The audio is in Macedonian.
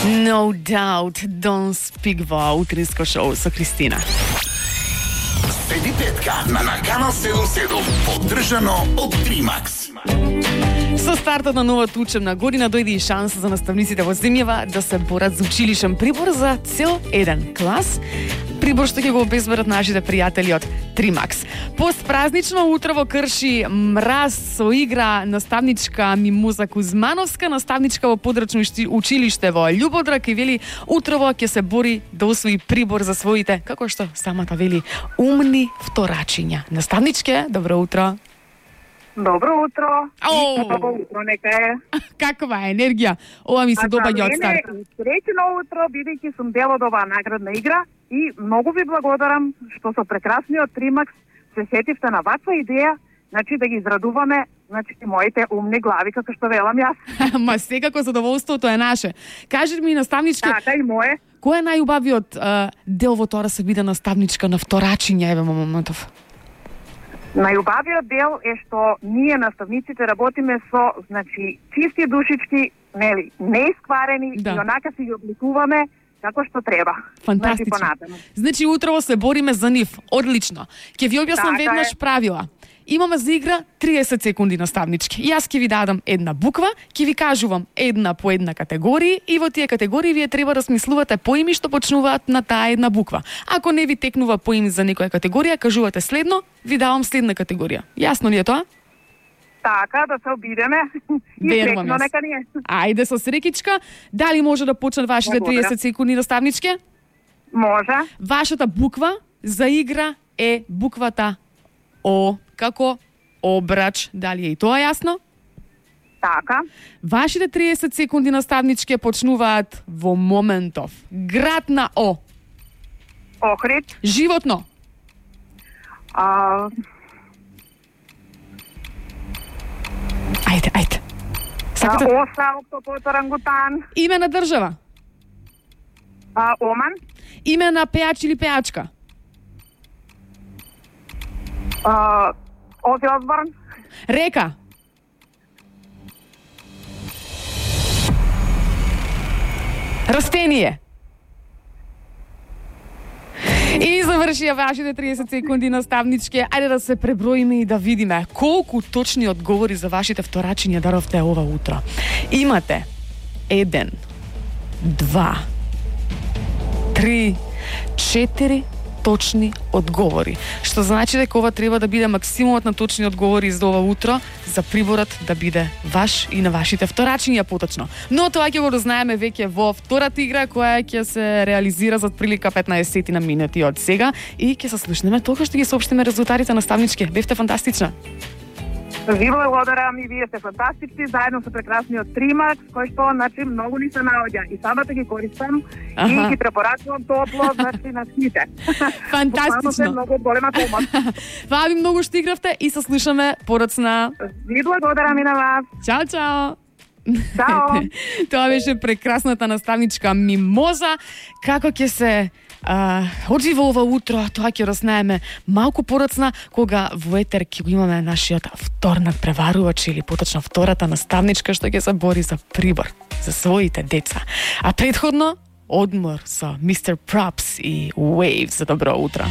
No doubt, don't speak во утринско шоу со Кристина. Седи петка на Канал 77, поддржано од Тримакс. Со стартот на новата учебна година дојде и шанса за наставниците во земјава да се борат за училишен прибор за цел еден клас. Прибор што ќе го обезбедат нашите пријатели од Тримакс. Постпразнично утро во Крши мраз со игра наставничка Мимоза Кузмановска, наставничка во подрачно училиште во Љубодрак, и вели утрово ќе се бори да освои прибор за своите, како што самата вели, умни вторачиња. Наставничке, добро утро. Добро утро. Добро утро, нека е. Каква е енергија? Ова ми се доаѓа од старт. Среќно утро, бидејќи сум дел од оваа наградна игра и многу ви благодарам што со прекрасниот Тримакс се сетивте на ваква идеја, значи да ги израдуваме, значи моите умни глави, како што велам јас. Ма секако задоволството е наше. Кажи ми, наставничке, Така и мое. кој е најубавиот дел во тоа да се биде наставничка на вторачиња, еве моментов? Најубавиот дел е што ние наставниците работиме со, значи, чисти душички, нели, неискварени, Да. и онака си ги обликуваме како што треба. Фантастично. Значи, понатаму. Значи утрово се бориме за нив. Одлично. Ќе ви објаснам Така веднаш е. правила. Имаме за игра 30 секунди наставнички. Јас ќе ви дадам една буква, ќе ви кажувам една по една категорија и во тие категории вие треба да смислувате поими што почнуваат на таа една буква. Ако не ви текнува поим за некоја категорија, кажувате следно, ви давам следна категорија. Јасно ли е тоа? Така, да се обидеме. И Верувам среќно јас. нека ни е. Ајде со срекичка. Дали може да почнат вашите Благодарам. 30 секунди наставничке? Може. Вашата буква за игра е буквата О, како обрач. Дали е и тоа јасно? Така. Вашите 30 секунди наставнички почнуваат во моментов. Град на О. Охрид. Животно. Ајде. Сакате? Оса, октопод, орангутан. Име на држава. Оман. Име на пеач или пеачка. Ози Осборн. Река. Растение. И завршија вашите 30 секунди наставнички. Ајде да се преброиме и да видиме колку точни одговори за вашите вторачиња даровте ова утро. Имате 1, 2, 3, 4 точни одговори. Што значи дека ова треба да биде максимумот на точни одговори за ова утро, за приборот да биде ваш и на вашите вторачиња поточно. Но тоа ќе го дознаеме веќе во втората игра, која ќе се реализира за отприлика 15 на минути од сега, и ќе се слушнеме толку што ги соопштиме резултатите наставнички. Бевте фантастична. Ви благодарам, и вие сте фантастични, заедно со прекрасниот Тримакс, кој што, значи, многу ни се наоѓа. И самата ги користам и ги препорачувам топло, значи, на сите. Фантастично. Буквално се многу голема помош. Фала ви многу што игравте и се слушаме подоцна. Ви благодарам и на вас. Чао, чао. Чао. Тоа беше прекрасната наставничка Мимоза. Како ќе се оджива ова утро, тоа ќе разнаеме малку подоцна, кога во етер ќе го имаме нашиот вторник преварувач, или поточно втората наставничка што ќе се бори за прибор за своите деца. А предходно одмор со Mr. Props и Waves за добро утро.